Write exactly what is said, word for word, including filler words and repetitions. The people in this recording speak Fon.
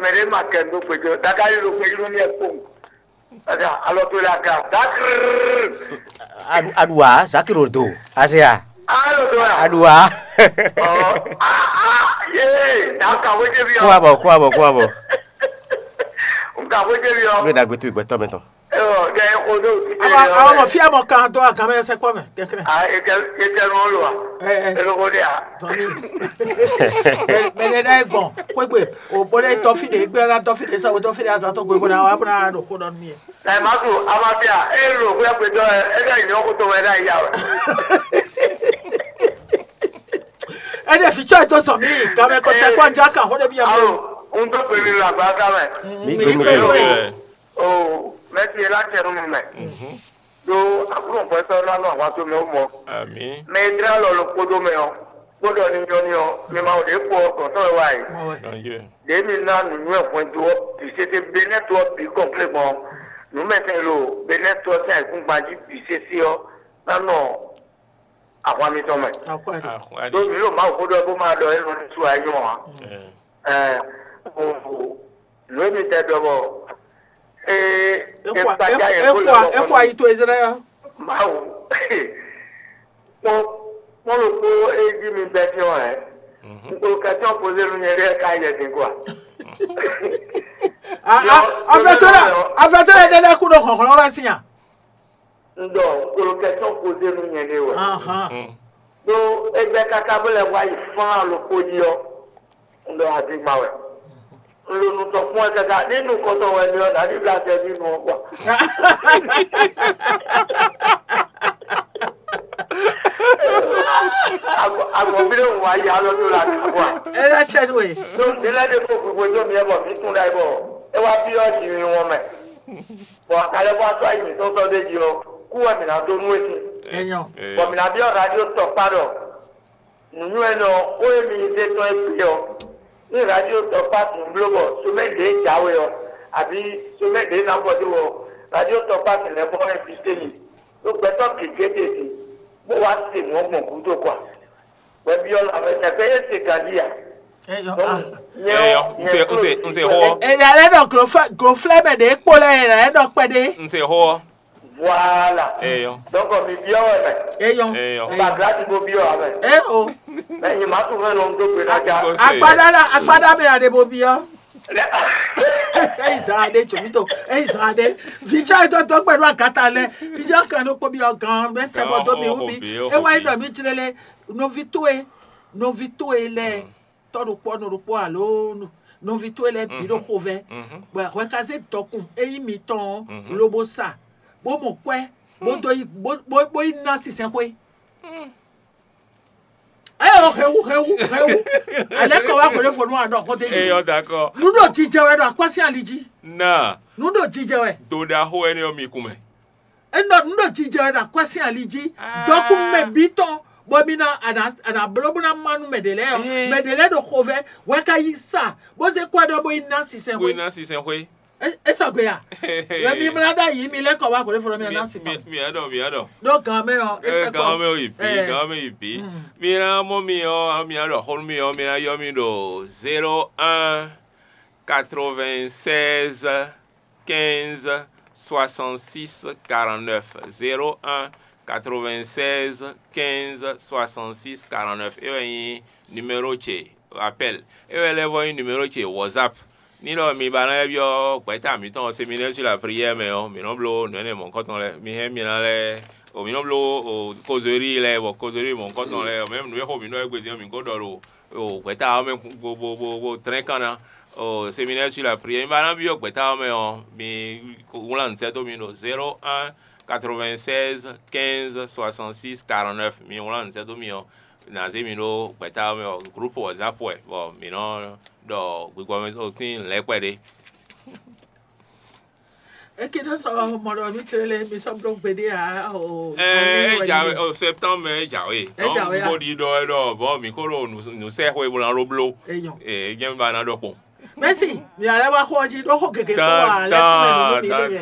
Mɛ ɖé ma kɛ ɖó gbèjɔ, dagari ɖo gbèjɔ nú mì kpɔn. Ada alɔ to la ga, dakr. Aɖu aɖua zakiro do azea. Alɔ to la. Aɖua. Ɔ, ah, ah, ye, da ka wo je bi. Kó abɔ kó abɔ kó abɔ. Nka wo je bi. Ɔ. Wé dagbe tu gbɛtɔ mɛ tɔn. Ɔ, dɛ o do ti. Àwọn àwọn ọmọ fí àmọ kan tó àgàn mẹ ẹsẹ kọ mẹ kẹkẹrẹ. Ah, e kẹ e kẹ nù lò wa. Ẹ ẹ. E lóko de a. Tọ́ni. Mẹ̀lẹ́ náà gbọ̀n kwégbè òbó lẹ́ tọ́fìdè gbé ná tọ́fìdè sọ̀wé tọ́fìdè azatọ́ gbé bó náà wà bó náà lò kó dọ́nu mì. Ẹ má tu amafia e lò kó yẹ pé dọ́ ẹ ẹ dẹ́ ìní ọkọ tó wẹ dá ìyá wẹ. Ẹ dẹ̀ fi tsọ́ ẹ tó sọ mí gàmẹ́ kọ́ sẹ́ kó ajá kà hóde bí ẹ mọ́. Alo, n tó pè mí lọ àgbà ká mẹ́. Mi gbé mi gbé. O mẹ́tì ẹ láti ẹnu mi mẹ́. Ɖó Aklúnɔ sɔ́ ná nɔ ahwan towe mɛ ó mɔ. Amǐ. Mɛ e tlá lɔ ɖokpóɖó mɛ ɔ́, kpóɖɔ ní nyɔ́ ní ɔ́, mi ma ɖě kpo ɔ́ gɔ̌n tɔn wɛ wá e. Danjé. Ɖě mi ná nǔnywɛ́ hwɛndo ɔ́ bǐ sésé Benɛ́to ɔ́ bǐ kɔnplé gbɔn ɔ́, nǔmɛtɛn e ɖo Benɛ́to ɔ́ sín ayǐkúngban jí bǐ sésé ɔ́ ná nɔ ahwan mitɔn mɛ. Akwɛ́ ɖe. Akwɛ́ Ɖó ɖe. Mi ɖo Mawu xó ɖɔ bó ma ɖɔ é nɔ ní su ayé ɔ́ ǎ. Ɛ. Ɛ, o, nǔ e mi tɛ ɖɔ bɔ ee Exɔ e kpadza yɛ kó lɛ exɔ ayi to Izlayɛ́li. Mawu. Kpɔn kpɔn ɖokpó e jí mi bɛ́ fí ɔ́ hɛn. Nkpolo kɛtɔn poze nú nyɛ ɖe ka yɛ din kɔ. Afɛtɔ lɛ afɛtɔ lɛ ɖe lɛ kú ɖo xɔxlɔ́ wɛ sín a? Un ɖɔ nkpolo kɛtɔn poze nú nyɛ ɖe wɛ. Ahan. Ɖó égbɛ́ káká bó lɛ́ wá yi fán alɔkpo jí ɔ́, un ɖɔ azigba wɛ. Un ɖo nukɔn kpɔ́n ɛ káká ní nukɔntɔn wɛ mi ɔ́, nǎ ní blá acɛ ní nu ɔ́ kpɔ́. Agbɔ̌nví ɖé wun wá yi alɔ tó la kpɔ́. Ela cɛ nú e. Ɖó ní lɛ́ ɖe kó gbogbo dó mi ɛ bɔ mǐ tún ɖa ɛ bɔ é wá byɔ́ jǐ mi wɔn mɛ. Bɔ akalɛ́ bɔ atɔ́ ayi mǐtɔn sɔ́ ɖ'é jí ɔ́, kú wɛ mǐ ná dó nú we sín. Enyɔ. Bɔ mǐ ná byɔ́ radio tɔkpá ɖɔ nǔnywɛ́nɔ xó e mi zé tɔn é kplé ɔ́, ní radio tɔkpá sǐn bló bɔ somɛ́ ɖě jǎwe ɔ́, abǐ somɛ́ ɖě ná bɔ dó ɔ́, radio tɔkpá sǐn lɛ́ bɔ ɛ́ bǐ se mi, ɖó gbɛtɔ́ gěgé ɖe din, bó wá se nǔ ɔ́ gbɔn gúdo kɔ a? Hwɛbyɔ́ lanmɛ tɛgbɛ é se ganjí a? Eyɔ. Donc, ah. Nyɛ Eyɔ, ɔ́, un se, nyɛ un se, un se xó ɔ́. Èdè alẹ́ nɔ gloflɛ́mɛ ɖě kpó lɛ èdè alẹ́ nɔ kpɛɖé. Un se xó ɔ́. Voilà. Eyɔ. Donc, mi byɔ́ wɛ mɛ. Eyɔ. Eyɔ. Ba gladi bo byɔ́ wɛ mɛ. E o. Mɛ nyi ma tún mɛ nɔ do gbe na ja. Akpɔ́ se. Akpádára akpádámɛ aɖe bo byɔ́. Eyi zan aɖe tso mi to eyi zan aɖe. Vitsɔ etɔ tɔ gbɛɖo agata lɛ. Vitsɔ kan ɖo kpɔ byɔ́ gan mɛ sɛbɔ do mi wu mi. Ewa yi nɔ mi tlele. Nɔvi towe nɔvi towe lɛ tɔ ɖokpɔ nɔ ɖokpɔ alo nɔvi towe lɛ bi ɖo xovɛ. Bɔ hwɛ ka zé dɔkun eyi mitɔn lobo sa bó mɔ kwɛ bó do yi bó bó yi ná sinsɛn xwé. Eyɔ hɛwu hɛwu hɛwu. Alɛ kɔ wa gbele fɔ nu aɖɔ xɔte yi. Eyɔ dakɔ. Nu ɖo jijɛ wɛ ɖo akwasi ali ji. Na. Nu ɖo jijɛ wɛ. Do ɖaxo ɛni ɔ mi kun mɛ. Enɔ nu ɖo jijɛ wɛ ɖo akwasi ali ji. Dɔkun mɛ bi tɔn bɔ mi na ana ana blo bó na ma nu mɛ ɖe lɛ yɔ. Mɛ ɖe lɛ ɖo xovɛ wɛ ka yi sa bó se kɔ ɖɔ bó yi na sisɛn Bó xwe. Na sisɛn xwe. E sɔgbe ya. Wɛ mi mla ɖa yi mi lɛ kɔ wa gbele fɔ mi na si Mi tɔn. Mi aɖɔ mi aɖɔ. Ɖo gan mɛ ɔ. Ɛ gan mɛ o yi bi gan mɛ yi bi. Mi na mɔ mi ɔ mi aɖɔ xɔnu mi ɔ mi na yɔ mi ɖo zéro un quatre-vingt-seize quinze soixante-six quarante-neuf. Zéro un quatre-vingt-seize quinze soixante-six quarante-neuf. E wɛ nyí numéro ce appel. E wɛ lɛ́ vɔ nyí numéro ce WhatsApp. Ní ɖɔ mi ba ná lɛ́ byɔ́ gbɛ̌ta mǐtɔn séminaire sur la prière mɛ ɔ́, mǐ nɔ́ bló nǔ énɛ́ mɔ̌hunkɔtɔn lɛ́ɛ. Mi hɛn mi ná lɛ́ o mǐ nɔ́ bló o kozori lɛ́ɛ bɔ kozori mɔ̌hunkɔtɔn lɛ́ɛ o mɛ̌m nǔ e xo mǐ ɖɔ é gbe din ɔ́, mǐ ko ɖɔ ɖo o gbɛ̌ta ɔ́ mɛ bo bo bo bo tlɛ́n kan ná. O séminaire sur la prière, mi ba ná byɔ́ gbɛ̌ta ɔ́ mɛ ɔ́, mi wlán nǔ sɛ́ dó mi ɖo zéro un quatre-vingt-seize quinze soixante-six quarante-neuf. Mi wlán nǔ sɛ́ dó mi ɔ́, ná zé mi ɖó gbɛ̌ta ɔ́ mɛ ɔ́, groupe WhatsApp wɛ bɔ mǐ nɔ ɖɔ gbigbɔ mɛ tín lɛ̌kpɛ ɖé. Eke ɖo sɔ mɔ ɖɔ mi tle lɛ mi sɔ bló gbeɖé a o. Ɛɛ e jǎwe o septembre e jǎwe. E jǎwe a. Bó ɖi ɖɔ ɛ ɖɔ bɔ mi ko ɖo nǔ sɛ xwe bó ná ɖó bló. Eyɔn. Ee jẹ́ mi ba ná ɖɔ kpɔn. Mɛsi, mi alɛ wa xɔ jí ɖó xɔ gègé kó wa alɛ fún mi nínú mi lé mi.